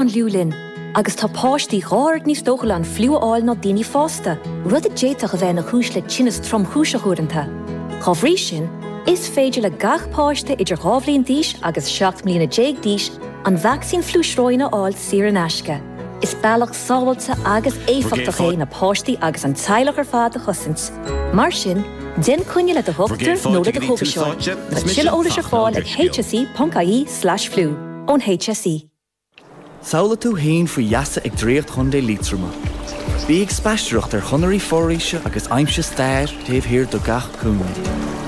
An fhliú linn, agus tá páistí 2 oiread níos dóchúla an fliú a fháil ná daoine fásta, rud a d'fhéadfadh a bheith ina chúis le tinneas tromchúiseach uaireanta. Dá bhrí sin, is féidir le gach páiste idir 2 bhliain d'aois agus 17 mbliana d'aois an vacsaín fliú sróine a fháil saor in aisce. Is bealach sábháilte agus éifeachtach é na páistí agus an teaghlach ar fad a chosaint. Mar sin, déan coinne le do dhochtúir nó le do chógaiseoir. Tá tuilleadh eolais ar fáil ag hse.ie/fliú ón HSE. Samhlaigh tú féin faoi gheasa ag Draíocht Chontae Liatroma. Bí ag spaisteoireacht ar chonairí foraoise agus aimsigh stair taobh thiar de gach cúinne.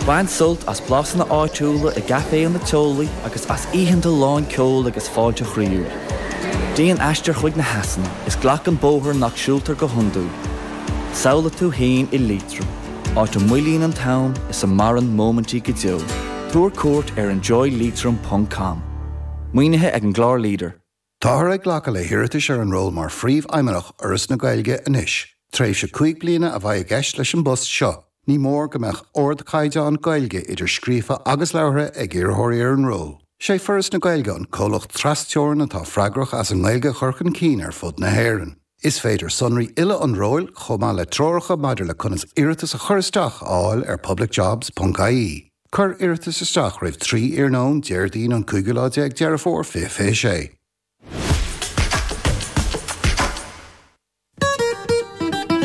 Bain sult as blasanna áitiúla i gcaiféanna teolaí agus as oícheanta lán ceoil agus fáilte chroíúil. Déan aistear chuig na heasanna is glac an bóthar nach siúltar go hiondúil. Samhlaigh tú féin i Liatroim, áit a moillíonn an t-am is a maireann móimintí go deo. Tabhair cuairt ar enjoyleitrim ponc com. Maoinithe ag an gclár Leader. Táthar ag glacadh le hiarratais ar an ról mar Phríomhfheidhmeannach Fhoras na Gaeilge anois. Tréimhse 5 bliana a bheidh i gceist leis an bpost seo. Ní mór go mbeadh ardchaighdeán Gaeilge idir scríofa agus labhartha ag iarrthóirí ar an ról. Sé Foras na Gaeilge an comhlacht tras-teorann atá freagrach as an nGaeilge a chur chun cinn ar fud na hÉireann. Is féidir sonraí uile an róil, chomh maith le treoracha maidir le conas iarratas a chur isteach, a fháil ar publicjobs.ie. Cuir iarratas isteach roimh 3 iarnóin, Déardaoin an cúigiú lá déag Deireadh Fómhair 2026.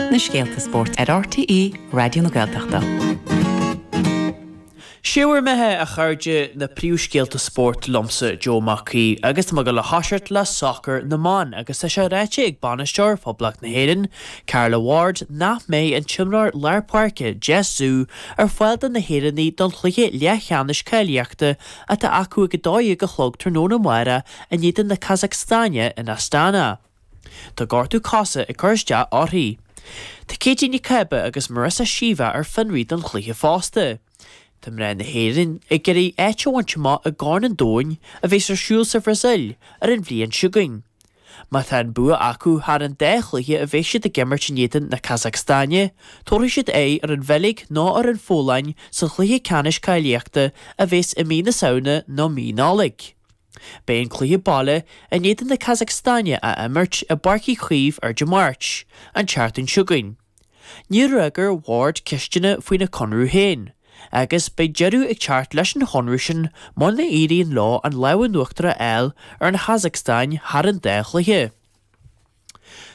Na scéalta spóirt ar RTÉ Raidió na Gaeltachta. Sé bhur mbeatha, a chairde, na príomhscéalta spóirt liomsa, Joe Mac Aoidh, agus tá mé ag dul a thoiseacht le sacar na mban agus tá sé ráite ag bainisteoir Phoblacht na hÉireann, Carla Ward, nach mbeidh an t-imreoir lár páirce, Jess Ziu, ar fáil do na hÉireannaigh don chluiche leathcheannais cáilíochta atá acu ag 12 a chlog tráthnóna amárach in éadan na Casacstáine in Astana. Tá gortú cosa ag cur isteach uirthi. Tá Katie Nic Cába agus Marissa Sheva ar fionraí don chluiche fosta. Tá mná na hÉireann ag iarraidh áit a bhaint amach i gCorn an Domhain a bheas ar siúl sa Bhrasaíl ar an bhliain seo chugainn. Má tá an bua acu thar an dá chluiche a bheidh siad ag imirt in éadan na Casacstáine, tabharfaidh siad aghaidh ar an Bheilg nó ar an Pholainn sa chluiche ceannais cáilíochta a bheas i mí na Samhna nó mí Nollag. Beidh an cluiche baile in éadan na Casacstáine á imirt i bPáirc Uí Chaoimh ar Dé Máirt, an tseachtain seo chugainn. Níor fhreagair Ward ceisteanna faoina conradh féin, agus beidh deireadh ag teacht leis an chonradh sin muna éiríonn leo an lámh in uachtar a fháil ar an Chasacstáin thar an dá chluiche.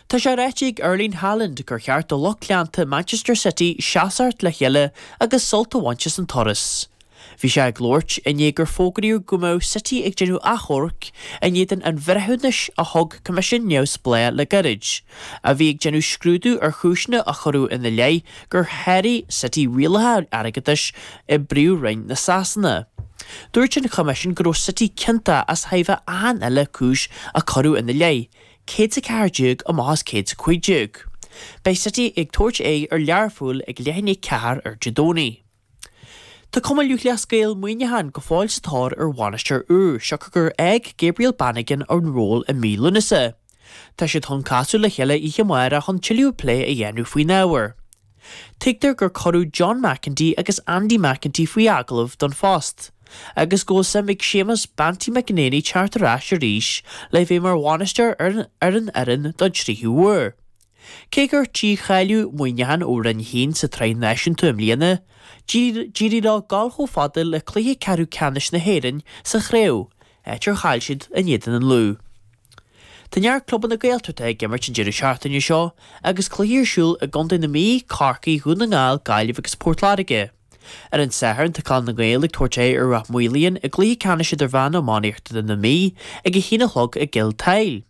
Tá sé ráite ag Erling Haaland gur cheart do lucht leanta Manchester City seasamh le chéile agus sult a bhaint as an turas. Bhí sé ag labhairt i ndiaidh gur fógraíodh go mbeadh City ag déanamh achomhairc in éadan an bhreithiúnais a thug coimisiún neamhspleách le gairid, a bhí ag déanamh scrúdú ar chúiseanna a cuireadh ina leith gur sháraigh City rialacha airgeadais i bPríomhroinn na Sasana. Dúirt an choimisiún go raibh City ciontach as tairbhe achan uile cúis a cuireadh ina leith, 114 amach as 115. Beidh City ag tabhairt aghaidh ar Learpholl ag leath i ndiaidh 4 ar Dé Domhnaigh. Tá Cumann Lúthchleas Gael Muineachán go fóill sa tóir ar bhainisteoir úr, siocair gur fhág Gabriel Bannigan an ról i mí Lúnasa. Tá siad chun casadh le chéile oíche amárach chun tuilleadh plé a dhéanamh faoin ábhar. Tuigtear gur cuireadh John McEntee agus Andy McEntee faoi agallamh don phost, agus go bhfuil suim ag Séamus 'Banty' McEnaney teacht ar ais arís le bheith mar bhainisteoir ar an fhoireann don tríú huair. Cé gur dícháilíodh Muineachán ó Roinn 1 sa tSraith Náisiúnta i mbliana, d'éirigh leo dul chomh fada le cluiche ceathrú ceannais na hÉireann sa chraobh, áit ar chaill siad in éadan an Lú. Tá neart clubanna Gaeltachta ag imirt an deireadh seachtaine seo agus cluichí ar siúl i gcontae na Mí, Corcaigh, Dhún na nGall, Gaillimh agus Port Láirge. Ar an Satharn tá Clann na nGael ag tabhairt aghaidh ar Ráth Moliain i gcluiche ceannais idirmheánach iománaíochta na Mí ag a haon a chlog i gCill tSáile.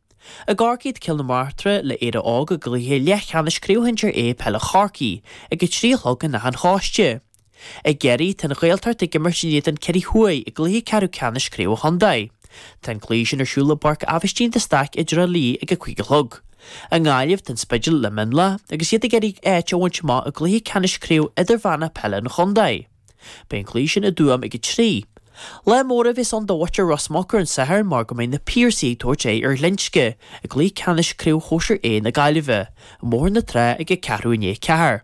I gCorcaigh tá Cill na Martra le Éire Óg i gcluiche leathcheannais Craobh Shinsir A Peile Chorcaí ag 3 a chlog in Áth an Chóiste. I gCiarraí tá an Ghaeltacht ag imirt in éadan Ciarraí Thuaidh i gcluiche ceathrú ceannais Craobh an Chontae. Tá an cluiche sin ar siúl i bPáirc Aibhistín de Staic i dTrá Lí ag 5 a chlog. I nGaillimh tá an Spidéal le Mionlach agus iad ag iarraidh áit a bhaint amach i gcluiche ceannais Craobh Idirmheánach Peile an Chontae. Beidh an cluiche sin i dTuaim ag 3. Lá mór a bheas ann do mhuintir Ros Muc ar an Satharn mar go mbeidh na Piarsaigh ag tabhairt aghaidh ar Ghlinsce i gcluiche ceannais Craobh Shóisir A na Gaillimhe, i mBóthar na Trá ag a ceathrú i ndiaidh a ceathair.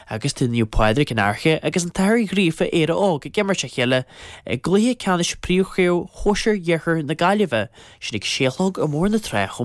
Agus tá Naomh Pádraig, An Fhairche agus an tAthair Ghríofa, Éire Óg ag imirt a chéile i gcluiche ceannais Príomhchraobh Shóisir Iarthar na Gaillimhe, sin ag sé a chlog i mBóthar na Trá chomh.